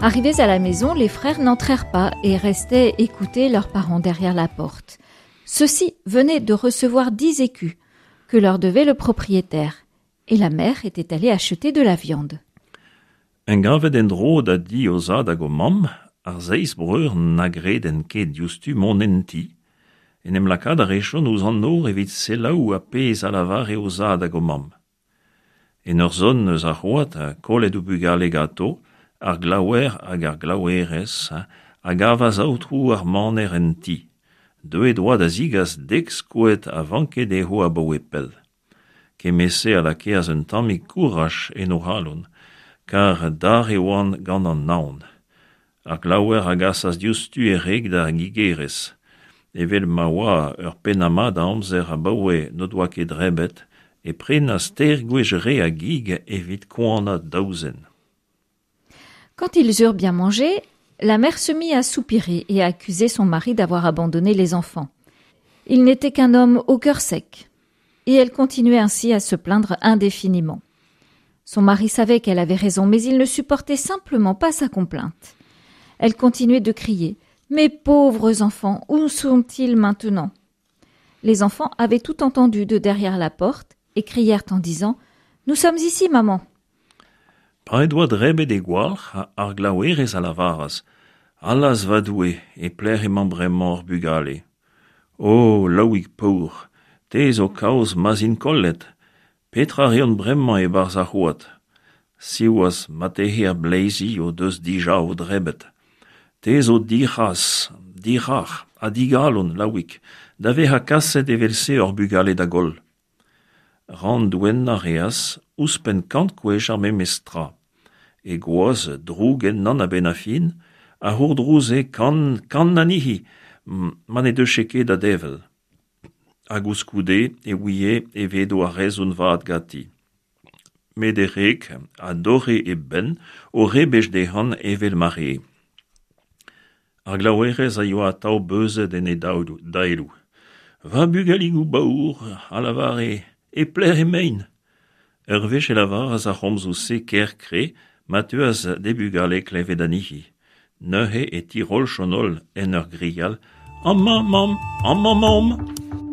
Arrivés à la maison, les frères n'entrèrent pas et restaient écouter leurs parents derrière la porte. Ceux-ci venaient de recevoir dix écus que leur devait le propriétaire, et la mère était allée acheter de la viande. En gavet en-dro da di o zad hag o mamm, ar seizh breur na gredent ket diouzhtu mont en ti. En em lakaat a rejont ouzh an nor evit selaou ar pezh a lavare o zad hag o mamm. En ur zont eus ar c'hoad, kollet o bugale ganto, ar glaouer hag ar glaouerez a gavas aotrou ar maner en ti. Deuet oa da zigas dek skoed a vanke dezho abaoe pell. Kement-se a lakeas un tammig kouraj en o c'halon, kar dare oant gant an naon. Ar glaouer a gasas diouzhtu e wreg d'ar gigerez. Evel ma oa ur pennad-mat a amzer abaoe n'o doa ket debret, e prenas teir gwech re a gig evit koanañ daou zen. Quand ils eurent bien mangé, la mère se mit à soupirer et à accuser son mari d'avoir abandonné les enfants. Il n'était qu'un homme au cœur sec. Et elle continuait ainsi à se plaindre indéfiniment. Son mari savait qu'elle avait raison, mais il ne supportait simplement pas sa complainte. Elle continuait de crier Mes pauvres enfants, où sont-ils maintenant Les enfants avaient tout entendu de derrière la porte et crièrent en disant Nous sommes ici, maman. Pa he doa drebet he gwalc'h, ar glaouerez a lavaras Allaz va Doue, e pelec'h emañ bremañ hor bugale? O, Laouig paour, te zo kaoz ma'z int kollet. Petra a reont bremañ e-barzh ar c'hoad? Siwazh, marteze ar bleizi o deus dija o drebet. Te zo dic'hras, dic'hrac'h ha digalon, Laouig, da vezañ kaset evel-se hor bugale da goll. Rannouennañ a reas ouzhpenn kant gwech ar memes tra. He gwaz, droug ennañ a-benn ar fin, a c'hourdrouze kant kant anezhi ma ne deufe ket da devel. Ha koulskoude e ouie e vedo ar rezon vat ganti. Met e wreg a dorre e benn o rebech dezhañ evel ma rae. Ar glaouerez a yoa atav beuzet en he daeloù. Va bugaligoù baour, a lavare, e pelec'h emaint ? Ur wech e lavaras ar c'homzoù-se ker kre ma teuas d'he bugale klevet anezhi. Neuze e tiroljont holl en ur grial Amañ, mamm, amañ 'maomp !